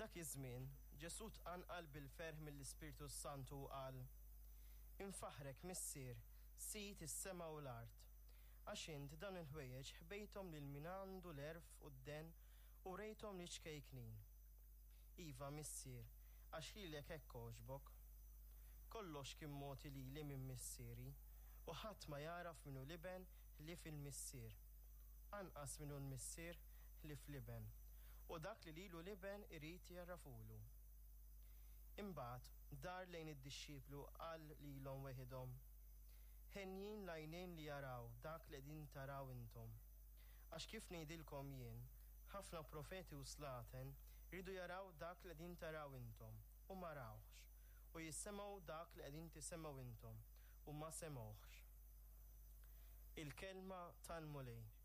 Dak iż-żmien, Ġesù tqanqal bil-ferħ mill-Ispirtu s-Santu u qal, Infaħħrek, Missier, Sid is-sema u l-art, għax int dawn il-ħwejjeġ ħbejthom lil min għandu l-għerf u d-dehen u wrejthom liċ-ċkejknin. Iva, Missier, għax lilek hekk għoġbok. Kollox kien mogħti lili minn Missieri, u ħadd ma jagħraf min hu l-Iben ħlief il-Missier, anqas min hu l-Missier ħlief l-Iben, u dak li lilu l-Iben irid jgħarrafhulu. Imbagħad dar lejn id-dixxipli u qal lilhom weħidhom, Henjin l-għajnejn li jaraw dak li qegħdin taraw intom. Għax kif ngħidilkom jien, ħafna profeti u slaten riedu jaraw dak li qegħdin taraw intom, u ma rawhx, u jisemgħu dak li qegħdin tisemgħu intom, u ma semgħuhx. Il-Kelma tal-Mulej.